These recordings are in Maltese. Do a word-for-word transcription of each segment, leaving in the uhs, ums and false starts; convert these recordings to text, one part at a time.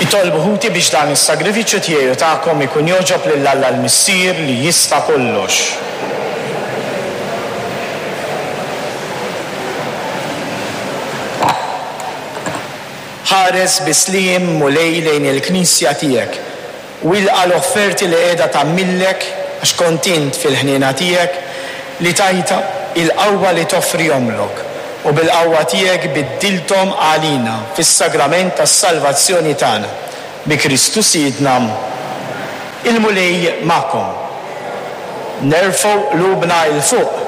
Itolbu ħuti biex dan is-sagrifiċċju tiegħi u tagħkom ikun jogħġob lil Alla l-Missier li jista' kollox. Ħares bi sliem Mulej lejn il-Knisja tiegħek u ilqa' l-offerti li qiegħda tagħmillek għax kont int fil-ħniena tiegħek li tajtha il-qawwa li toffrihomlok u bil-qawwa tiegħek biddilthom għalina fis-sagrament tas-salvazzjoni tagħna. Bi Kristu Sidna. Il-Mulej magħkom. Nerfgħu qlubna 'l fuq.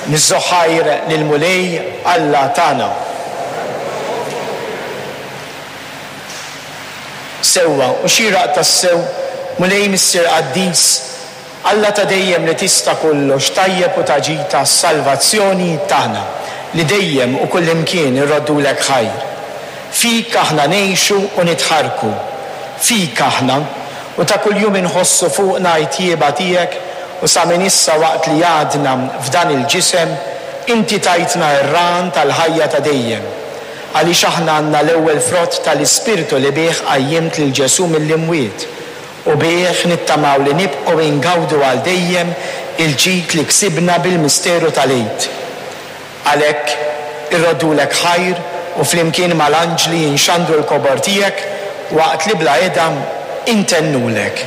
Niżżu ħajr lill-Mulej Alla tagħna. Sewwa u xieraq tassew, Mulej Missier Qaddis, Alla ta' dejjem li tista' kollox, tajjeb u ta' ġid għas-salvazzjoni tagħna, li dejjem u kullimkien irroddulek ħajr. Fik aħna ngħixu u nitħarrku. Fik aħna, u ta' kuljum inħossu fuqna t-tjieba tiegħek, u sa minn issa waqt li għadna f'dan il-ġisem, inti tajtna r-rahan tal-ħajja ta' dejjem. Għaliex aħna għandna l-ewwel frott tal-Ispirtu li bih qajjimt lil Ġesù mill-imwiet, u bih nittamaw li nibqgħu ingawdu għal dejjem il-ġid li ksibna bil-misteru tal-Għid. Għalhekk irroddulek ħajr u flimkien mal-anġli inxandru l-kobor tiegħek waqt li bla heda intennulek.